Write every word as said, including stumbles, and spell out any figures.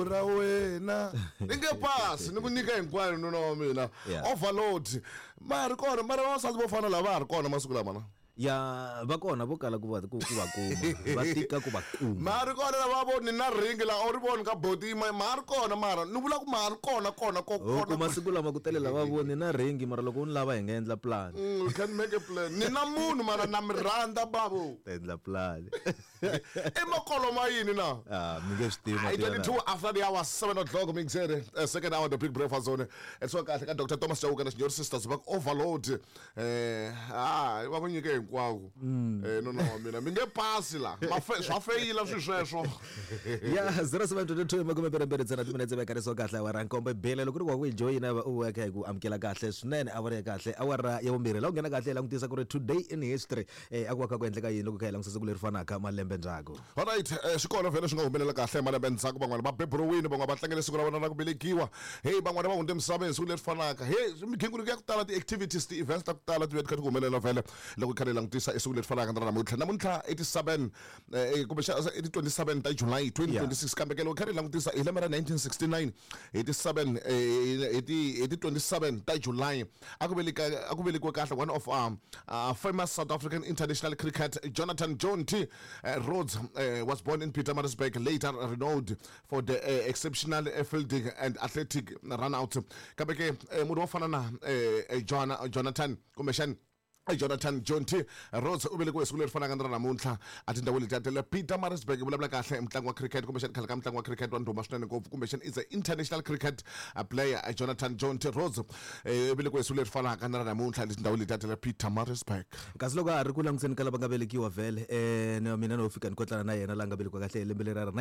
ra wena ni nge pasi ni ku nyika hinkwayo nuna wa mina Yeah. overload ma ha ri kona mara vavasati vo fana lava ha ri kona masiku lama na ya va kona vo kala ku va ku ku va kuma va tika ku va kuma ma ha ri kona lava vo ni na ringi la u ri voni ka boti ma ma ha ri kona mara ni vula ku ma ha ri kona kona ko ho kona kuma siku lama ku tele lava voni na ringi mara loko u ni lava hi nga endla plan Mm, we can make a plan ni na munhu mara na mi rhandza bavo ta endla plan i makolo ma yini na ah mi nge swi tivi Hi mati ya twenty-two after the hour seven o'clock mixere uh, second hour the big breakfast zone and so kahle ka Doctor Thomas Chauke na Senior Sisters va ku overload eh ah va ku nyike hinkwako eh no no wa mina mi nge pasi la ma fe swa feyila swi sweswo ya zero seven twenty-two makume mbirhi mbirhi ntsena timinetse vekariso kahle awara nkombo bele loko ri wa ku hi joyina u ya kha hi ku amukela kahle swinene awara ya kahle awara ya vumbirhi la u nghena kahle hi langutisa ku ri today in history eh a ku va kha ku endleka yini loko kha hi langutisa siku leri fanaka malembe ndzhaku alright eh, swi kona vhele swi nga humelela kahle malembe ndzhaku van'wana va beburiwile van'wana va tlangele siku ra vona ra ku velekiwa hey van'wana va hundze emisaveni siku leri fanaka hey migingiriko ya ku tala ti-activities ti-events ta ku tala ti ve ti kha ti ku humelela vhele loko hi kha hi langutisa esiku leri fanaka na ra namuntlha namuntlha eighty-seven eh, kumbexana i ti twenty-seven ta July twenty twenty-six kambe ke loko hi kha hi langutisa hi lembe ra nineteen sixty-nine hi ti seven eh, hi ti hi ti twenty-seven ta July a ku veleka a ku velekiwe kahle one of um, uh, famous South African international cricket Jonathan Jonty uh, Rhodes uh, was born in Pietermaritzburg, later renowned for the uh, exceptional uh, fielding and athletic run out. Kambe ke eh, munhu wo fana na eh, eh, Jona- Jonathan kumbexani Jonathan Jonty Rhodes u velekiwe siku leri fanaka na ra namuntlha a tindhawini letiya ta le Pietermaritzburg vulavula kahle mutlangi wa cricket kumbexani khale ka mutlangi wa cricket wa ndhuma swinene ngopfu kumbexani is a international cricket uh, player uh, Jonathan Jonty Rhodes eh, u velekiwe siku leri fanaka na ra namuntlha le tindhawini letiya ta le Pietermaritzburg. Kasi loko a ha ri ku langutiseni ka lava nga velekiwa vhele um mina no fika ni kotlana na yena la nga velekiwa kahle hi lembe leri ra